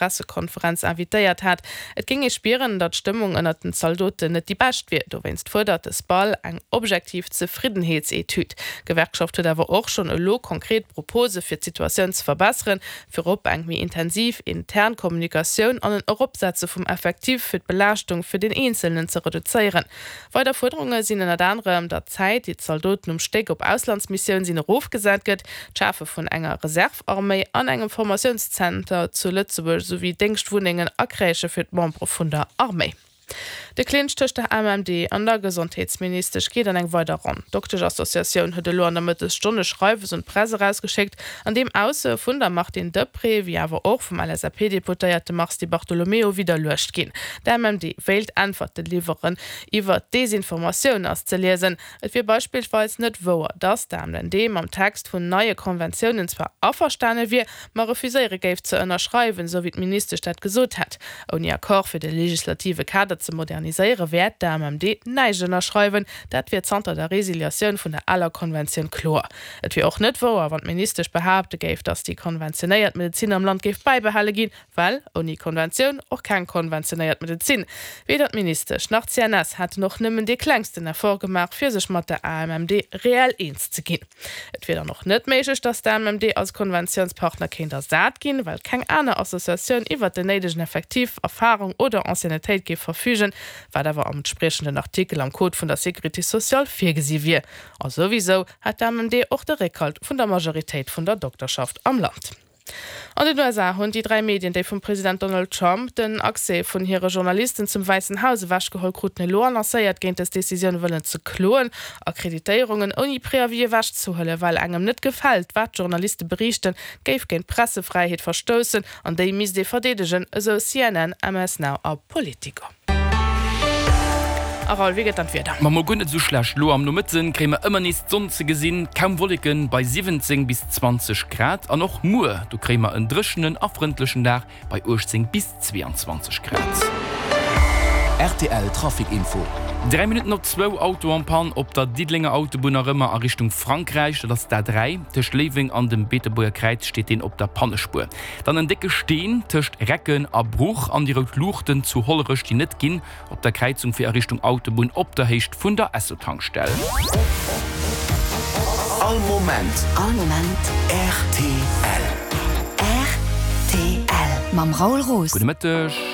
Pressekonferenz invitéiert hat. Et géing ee spieren, datt d'Stëmmung ënnert den Zaldoten net déi bescht wier. Dowéinst fuerdert de SPAL eng objektiv Zefriddenheetsetüd. D'Gewerkschaft huet awer och schonn elo konkret Propose fir d'Situatioun ze verbesseren, virop eng méi intensiv intern Kommunikatioun an en Eropsetze vum Effectif fir d'Belaaschtung fir den Eenzelnen ze reduzéieren. Weider Fuerderunge sinn ënnert anerem, datt d'Zäit, déi d'Zaldoten um Stéck op Auslandsmissioun sinn, erofgesat gëtt, d'Schafe vun enger Reserve-Arméi an engem Formatiounszenter zu Lëtzebuerg esouwéi Déngschtwunnengen a Crèchë fir d'Membere vun der Arméi. De Clinch tëscht der AMMD an der Gesondheetsministesch geet an eng weider Ronn. D'Dokteschassociatioun huet elo an der Mëttesstonn e Schreiwes un d'Press erausgeschéckt, an deem Aussoe vun der Martine Deprez, wéi awer och vum LSAP-Deputéierte Mars Di Bartolomeo widderluecht ginn. D'AMMD wéilt Äntwerte liwweren. Iwwer Desinformatioun ass ze liesen. Et wier beispillsweis net wouer, datt d'AMMD mam Text vun neie Konventiounen zwar averstane wier, ma refuséiere géif ze ënnerschreiwen, esou wéi d'Ministesch dat gesot hätt. Ouni Accord fir de legislative Kader ze moderniséiere wäert d'AMMD näischt ënnerschreiwen. Dat wier zanter der Resiliatioun vun der aler Konventioun kloer. Et wier och net wouer, wann d'Ministesch behaapte géif, datt déi konventionéiert Medezin am Land géif bäibehale ginn, well ouni Konventioun och keng konventionéiert Medezin. Weder d'Ministesch nach d'CNS hätten och nëmmen dee klengsten Effort gemaach, fir sech mat der AMMD reell eens ze ginn. Et wier dann och net méiglech, datt d'AMMD als Konventiounspartner kéint ersat ginn, well keng aner Associatioun iwwert den néidegen Effectif, Erfarung oder Anciennetéit géif verfügen, wat awer am entspriechenden Artikel am Code vun der Sécurité sociale virgesi wier. A souwisou hätt d'AMMD och de Réckhalt vun der Majoritéit vun der Dokterschaft am Land. An den USA hunn déi 3 Medien, déi vum President Donald Trump den Accès vun hire Journalisten zum Wäissen Haus ewechgeholl kruten, elo annoncéiert, géint dës Decisioun wëllen ze kloen. Akkreditéierungen ouni Préavis ewechzehuelen, well engem net gefält, wat d'Journaliste beriichten, géif géint d'Pressefräiheet verstoussen an déi misst ee verdeedegen, esou CNN, MS Now a Politico. A Raoul, wéi gëtt dann d'Wieder? Ma mol guer net esou schlecht. Lo am Nomëtten kréie mer ëmmer nees d'Sonn ze gesinn, kaum Wolleken bei 17 bis 20 Grad. An och muer, do kréie mer en dréchenen a frëndlechen Dag bei 18 bis 22 Grad. Rtl Trafic Info. 3 Minutten op zwou, Auto en panne op der Diddelenger Autobunn nach ëmmer a Richtung Frankräich, dat ass d'A3. Tëscht Léiweng an dem Beetebuerger Kräiz steet deen op der Pannespuer. Dann en décke Steen tëscht Recken a Bruch an déi rout Luuchten zu Hollerech, déi net ginn, op der Kräizung fir a Richtung Autobunn op der Héicht vun der Esso-Tankstell. All Moment. All Moment. Rtl. Rtl. Mam Raoul Roos. Gudde Mëtteg.